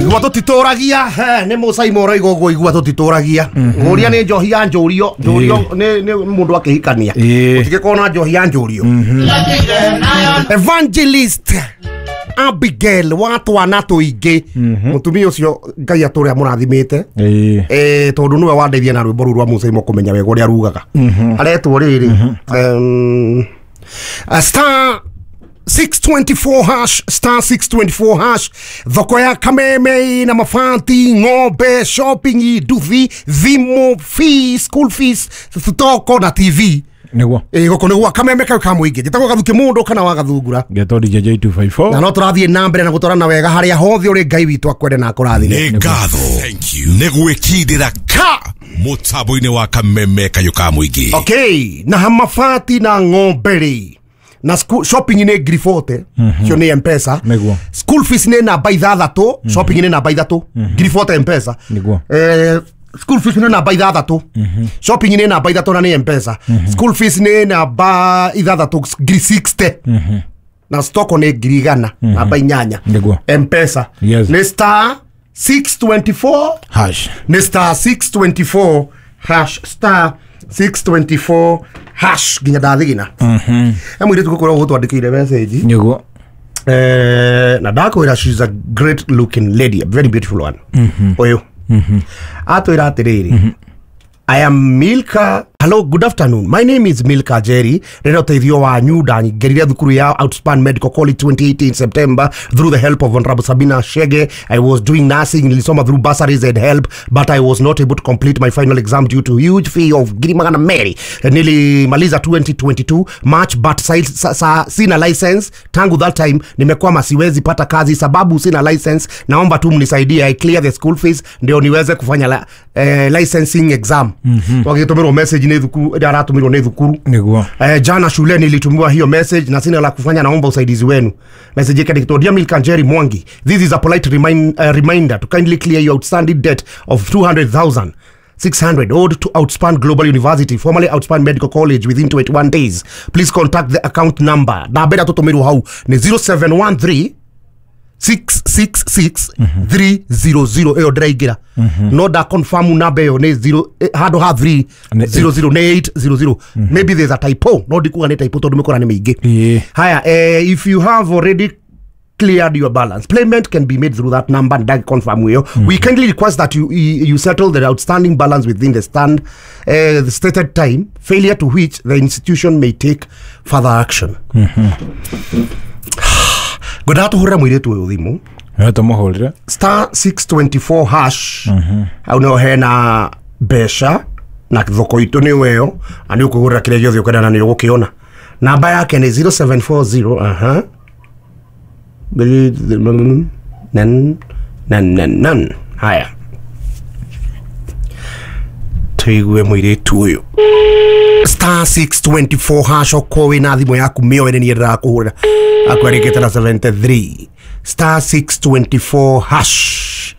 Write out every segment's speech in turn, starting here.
Igua tutituragia ni mucaimo ũrauga ũguo igua tutituragia ngũria nĩ njohi ya njũrio njũrio nĩ mũndũ akĩhikania ũtigĩkorwo na njohi ya njũrio. Evangelist Abigail wa twana tũingĩ mũtumia ũcio Ngai atũre amũrathimĩte tondũ nĩwe wandeithia na rwĩmbo rũu rwa mucaimo kũmenya wega ũrĩa rugaga aretwo rĩrĩ star 624 hash star 624 hash thoko ya Kameme na mabati ng'ombe shopping nduthi thimũ fees school fees thoko na TV niguo gũkũ nĩ gwa Kameme kau ka mũingĩ njĩtagwo Gathuki mũndũ kana wa Gathungura ngetwo DJ 254 na no tũrathiĩ na mbere na gũtwarana wega harĩa hothe ũrĩ Ngai witũ akwende na akũrathime. Nĩ ngatho nĩ gwĩkindĩra ka mũtambo-inĩ wa Kameme kayũ ka mũingĩ. Okay, na mabati na ng'ombe rĩ na school shopping nĩ ngiri 40 cio nĩ M-Pesa. Niguo. School fees nĩ namba ithathatũ, shopping nĩ namba ithatũ, ngiri 40 M-Pesa. Niguo. School fees nĩ namba ithathatũ, shopping nĩ namba ithatũ na nĩ M-Pesa. School fees nĩ namba ithathatũ ngiri 60 na stoko nĩ ngiri igana namba inyanya. Niguo. M-Pesa. Yes. Nĩ star 624 hash nĩ star 624 hash star 624 hash nginya ndathigina. He mũirĩtu gũkorwo gũtwandĩkĩire message niguo na ndakwĩra she's a great looking lady, a very beautiful one. Ũyũ atwĩra atĩrĩrĩ, I am Milka. Hello, good afternoon. My name is Milka Jerry. Rero teithio wa nyuda ngerire thukuru ya Outspan Medical College 2018 September through the help of Honorable Sabina Shege. I was doing nursing, nilisoma through bursaries and help, but I was not able to complete my final exam due to huge fee of ngiri magana merĩ. Nilimaliza 2022 March, but sina license. Tangu that time nimekwama, siwezi pata kazi sababu sina license. Naomba tu mnisaidie I clear the school fees ndio niweze kufanya licensing exam. Wagĩtũmĩrwo message nĩ thukuru ĩrĩa aratũmĩrwo nĩ thukuru. Niguo. Jana shule nilitumiwa hiyo message na sina la kufanya, naomba usaidizi wenu. Message yake ni Dear Milka Njeri Mwangi, this is a polite reminder to kindly clear your outstanding debt of 200,600 owed to Outspan Global University, formerly Outspan Medical College, within 21 days. Please contact the account number. Na beda tũtũmĩrwo hau ni 0713 666 300 ĩyo ndĩraingĩra no nda confirm namba ĩyo nĩ 0 handũ ha 3 00 nĩ 800. Maybe there's a typo, no ndikuga nĩ typo tondũ mĩkora nĩ mĩingĩ. Haya, if you have already cleared your balance, payment can be made through that number and that confirm ĩyo. We kindly request that you settle the outstanding balance within the the stated time, failure to which the institution may take further action. Ngwendaga tũhũrĩre mũirĩtu ũyũ thimũ. Tũmũhũrĩre star 624 hash hau nĩho hena mbeca na thoko itũ nĩ weyo na nĩ ũkwĩgũrĩra kĩrĩa gĩothe ũkwenda na nĩ ũgũkĩona. Namba yake nĩ 0740 nan nan nan nan. Haya, tũigue mũirĩtu ũyũ star 624 hash okorwo wĩna thimũ yaku mĩoe nĩ niĩ ndĩrakũhũrĩra akwarĩkĩte na 73 star 624 hash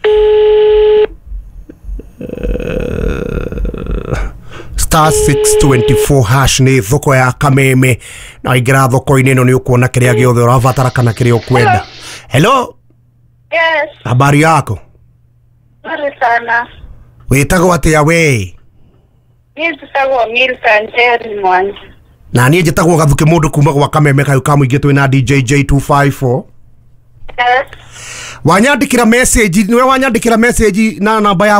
star 624 hash nĩ thoko ya Kameme na waingĩra thoko-inĩ ĩno nĩ ũkuona kĩrĩa gĩothe ũrabatara kana kĩrĩa ũkwenda. Hello. Yes. Habari yako? Nzuri sana. Wĩtagwo atĩa we? Niĩ njĩtagwo Milka Njeri Mwangi. Na niĩ njĩtagwo Gathuki mũndũ kuma gwa Kameme kayũ ka mũingĩ twĩ na DJ J254. Yes. Wanyandĩkĩra message, nĩwe wanyandĩkĩra message na namba ya